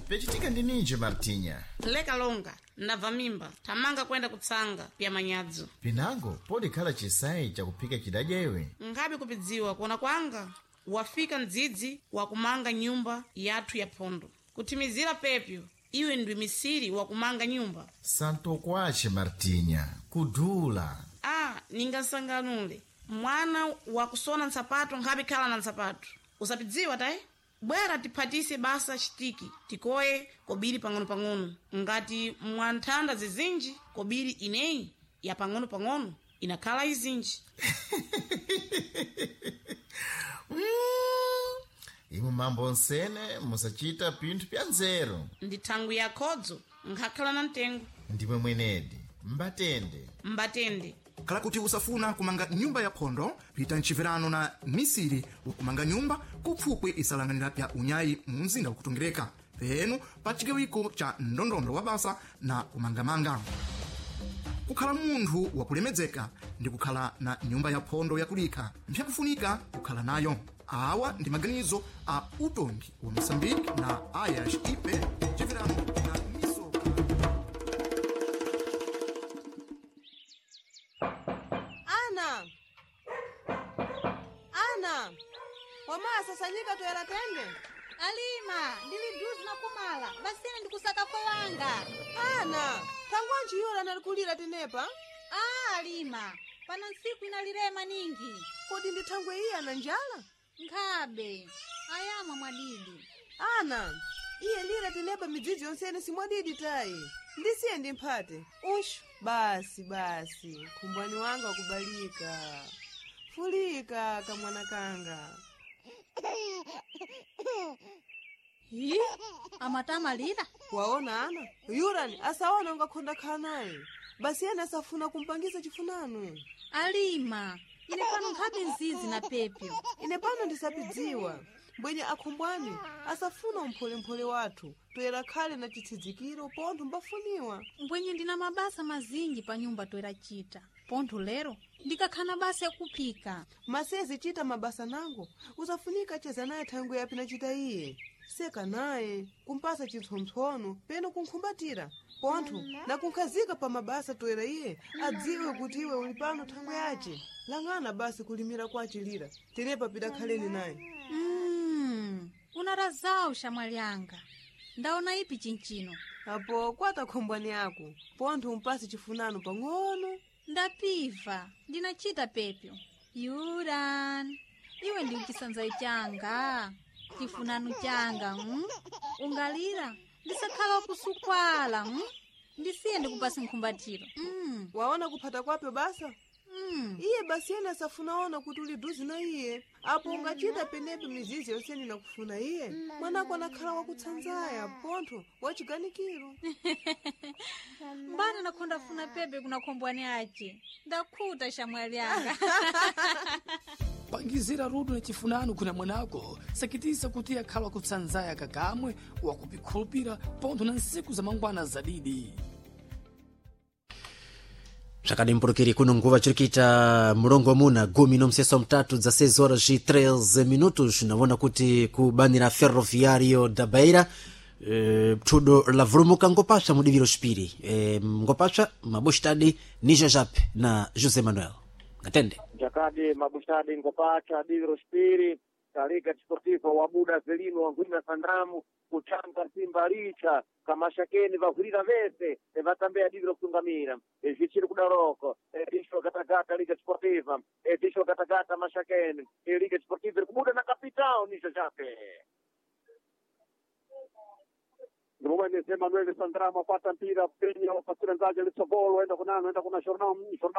Pechitika ndi ninji, Martinya? Leka longa, ndabva mimba, thamanga kuyenda kutsanga pya manyadzo. Pinango podikhala chisayi chakuphika chidadya iwe. Nkhabe kupidziwa kuona kwanga, wafika mdzidzi wakumanga nyumba yathu ya phondo. Kuthimizira pepyo, iwe ndiwe misiri wakumanga nyumba. Santokwache, Martinya, kudula. A, ningasanganule mwana wakusona nsapato nkhabe khala na nsapato. Usapidziwa tayi, bwera tiphatise basa chitiki, tikoye kobiri pang'ono-pang'ono ngati mwanthanda zizinji kobiri ineyi ya pang'ono-pang'ono inakhala izinji. Imwe mambo nsene musachita pinthu pya nzeru. Ndi thangwi ya khodzo nkhakhala na mtengo. Ndimwe mwenedi mbatende. Mbatende. Khala kuti usafuna kumanga nyumba ya phondo, pita mchiverano na misiri wakumanga nyumba kupfupwi isalanganira pya unyayi mu mzinda wakutongereka penu pa chigawiko cha ndondondo wa basa na kumangamanga. Kukhala munthu wakulemedzeka ndi kukhala na nyumba ya phondo yakulikha mpyakufunika kukhala nayo. Awa ndi maganizo a utongi wa Moçambique na Ayas Ipe chiverano na misoka. Ana, ana, wamasasanyika toyera tende. Alima, ndili duzi na kumala basine ndikusaka kolanga. Ana, thangwanji yura nalikulira tenepa? A, Alima, pano ntsiku inalirema ningi. Kodi ndi thangwe iye ana njala? Nkhabe ayamwa mwadidi. Ana, iye lira tenepa midzidzi yonsene simwadidi tayi. Ndisiye ndi mphate. Ushu, basi basi, khumbwani wanga wakubalika. Fulika kamwana kanga. Yi, amatamalira. Waona ana, yurani asaona ungakhonda khala naye. Basi ena asafuna kumpangisa chifunano. Alima, ine pano nkhabe nzizi na pepyo. Ine pano ndisapidziwa mbwenye akhumbwani asafuna umpholemphole wathu toyera khale na chitsidzikiro pontho mbafuniwa. Mbwenye ndina mabasa mazinji pa nyumba toyera chita pontho lero ndikakhana basa yakuphika. Masezi chita mabasa nango usafunika cheza naye thangwe yapi nachita iye seka naye kumpasa chipsompsono peno kunkhumbatira pontho nakunkhazika pa mabasa toyera iye adziwe kuti iwe uli pano thangwe yace. Lang'ana basi kulimira kwace lira tenepa pidakhaleni naye. Unarazawu shamwali anga, ndaona ipi chinchino. Apo kwata khombwani yako pontho umpase chifunano pang'ono. Ndapiva, ndinachita pepyo. Yuran, iwe ndi chisanzayo changa, chifunano changa. Ungalira ndisakhala wakusukwala. Ndisiye ndikupase nkhumbatiro. Waona kuphata kwapyo basa. Iye basi yena asafuna kuti uli duzi na iye. Apo ungachita penepo mizizi yonsene nakufuna iye mwanako anakhala wakutsanzaya pontho wachiganikiro. Mbana nakhonda funa pepe kuna khombwani ace. Ndakhuta shamwali anga. Pangizira rudo na chifunano kuna mwanako sakitisa kuti akhala wakutsanzaya kakamwe wakupikhulupira pontho na nsiku za mangwana zadidi. Zvakadimburukiri kuno nguva chiri kuita mulongo muna gumi nomuseso mutatu dza 6 horas e 13 minutos. Naona kuti kubanira Ferroviário da Beira, thudo lavulumuka ngopapsa mudiviro xipiri, ngopapsa mabustadi ni Jajape na José Manuel ngatende. Jakadi mabustadi ngopacha diviro xipiri Liga Desportiva wabuda zelino wangwina sandramu kuchanga simba licha kamashakeni vahwirira vese vatambea diviro kutungamira zvichiri kudaroko disho gatagata Liga Desportiva, disho gatagata mashakeni. Liga Desportiva iri kubuda na capitão nicho chake. Ndimomwe Emanuel Sandramo apata mpira penya wapasira nzaje litsogolo enda kunano enda kuna Jornal Jornal.